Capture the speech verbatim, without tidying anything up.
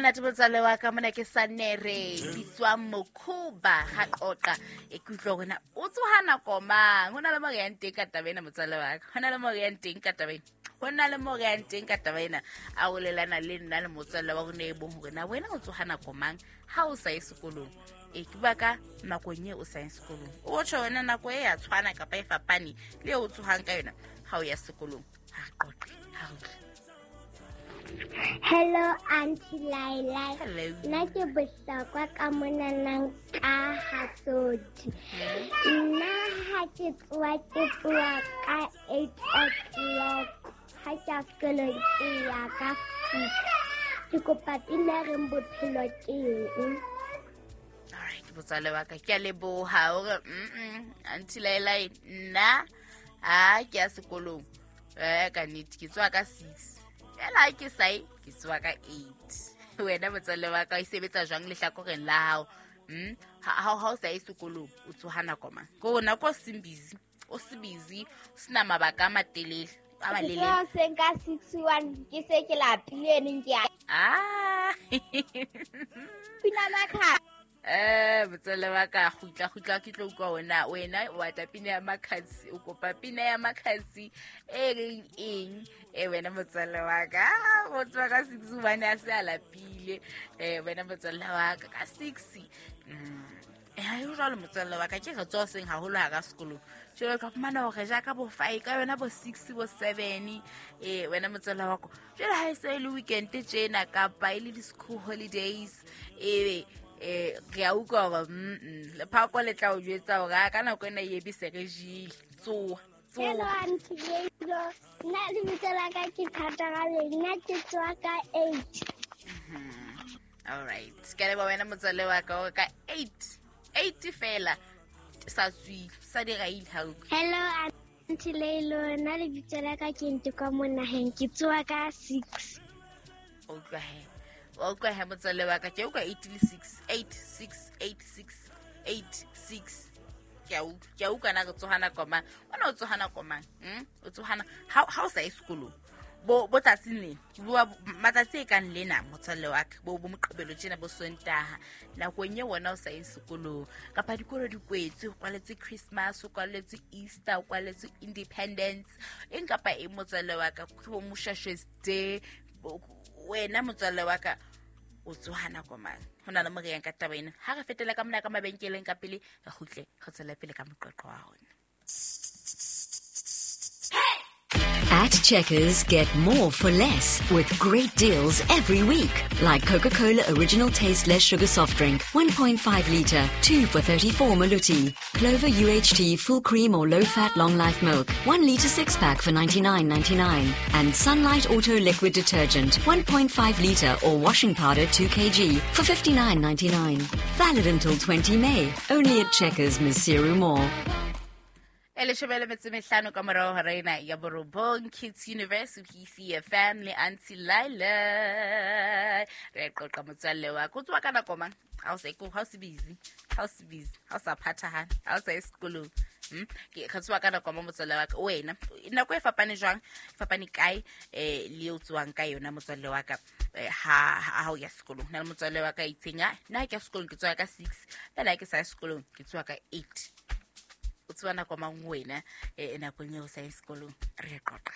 Monate motswalle wa ka mona ke Sanere bitswang Mokhuba ha qoqa e ke utlwa hore na o tsoha nako mang. Ho na le mo re yang teng ka taba ena motswalle wa ka. Ho na le mo re yang teng ka taba ena. Ho na le mo re yang teng ka taba ena. A bolelana le nna le motswalle wa rona e bong hore na wena o tsoha nako mang ha o sa ye sekolong. E ke bua ka nakong e o sa yeng sekolong. O tjho wena nako e ya tshwana kapa e fapane le eo o tsohang ka yona ha o ya sekolong. Ha re qoqe, ha re utlwe. Hello, Auntie Laila. Hello. Nna ke Bohlokwa ka monanang ka Hasodi. Nna ha ke tsoha ke tsoha ka eight o'clock. Ha ke ya sekolong ke ya ka six. Ke kopa pina e reng bophelo ke eng? Alright, motswalle wa ka ke a leboha hore mm Auntie Laila nna ha ke ya sekolong eh ka nnete ke tsoha ka six. Fela ha ke sa ye ke tsoha ka eight. Wena motswalle wa ka e sebetsa jwang lehlakoreng la hao? Mm ha ha o sa ye sekolong o tsoha nako mang? Ko nako o seng busy, o se busy, o sena mabaka a matelele a Ke malelele. tsoha hoseng ka six one ke se ke lapile neng ke ya Ah. pina Makhadzi. Eh motswalle wa ka kgutla kgutla ke tlo utlwa wena wena o batla pina ya Makhadzi o kopa pina ya Makhadzi e reng eng e wena motswalle wa ka Ah, o tsoha ka six hobane a se a lapile eh wena motswalle wa ka ka six mm eh ha e jwalo motswalle wa ka ke re tsoha hoseng haholo hara sekolong jwale o tla fumana hore ja ka bo five ka yona bo six bo seven eh wena motswalle wa ka jwale ha e se e le weekend tjena kapa e le di-school holidays ebe eh re a utlwa hore mm lephako le tla o jwetsa hore a ka nako ena e be se re jele tsoha Hello, tsoha Auntie Leilo. Nna lebitso la ka ke Thatagale. Nna ke tsoha ka eight. All right ke a leboha wena motswalle wa ka hore ka eight eight fela sa tswile sa diraile ha utlwe Hello, Auntie Leilo. Nna lebitso la ka ke Ntekwa mo naheng. Ke tsoha ka six. o utlwa he wa utlwa he motswalle wa ka ke utlwa eight le six eight six eight six eight six ke a utlwa ke a utlwa na re tsoha nako mang wena o tsoha nako mang mm? o tsoha ha ha o sa ye sekolong bo bo tsatsing lena ke bua matsatsi e kang lena motswalle wa ka bo bo moqebelo tjena bo sontaha nakong e wena o sa yeng sekolong kapa dikolo di kwetswe ho kwaletswe Christmas ho kwaletswe Easter ho kwaletswe Independence eng kapa eng motswalle wa ka ke bo Moshweshwe's Day bo- wena motswalle wa ka o tsoha nako mang ho na le mo re yang ka taba ena ha re fetela ka mona ka mabenkeleng ka pele re kgutle re tswele pele ka moqoqo wa rona. At Checkers, get more for less with great deals every week. Like Coca-Cola Original Taste Less Sugar Soft Drink, one point five litre, two for thirty-four Maluti. Clover U H T Full Cream or Low Fat Long Life Milk, one litre six pack for ninety-nine ninety-nine. And Sunlight Auto Liquid Detergent, one point five litre or washing powder two kilograms for fifty-nine ninety-nine. Valid until twenty May. Only at Checkers, Maseru Mall. E leshome le metso e mehlano ka morao hora ena ya borobong Kids Universe P C F M le Auntie Laila. Re a qoqa motswalle wa ka. O tsoha ka nako mang? Ha o sa ha o se busy, ha o se busy, ha o sa phathahana, ha o sa ye sekolong. Hmm? Ke re tsoha ka nako mang motswalle wa ka? Wena, nako e fapane jwang? E fapane kae, eh, le eo tsohang ka yona motswalle wa ka? Eh, ha, ha, ha o ya sekolong. Ho na le motswalle wa ka a itseng, ah, nna ha ke ya sekolong ke tsoha ka six, fela ha ke sa ye sekolong ke tsoha ka eight. O tseba nako mang wena, eh, nakong eo o sa ye sekolong? Re a qoqa.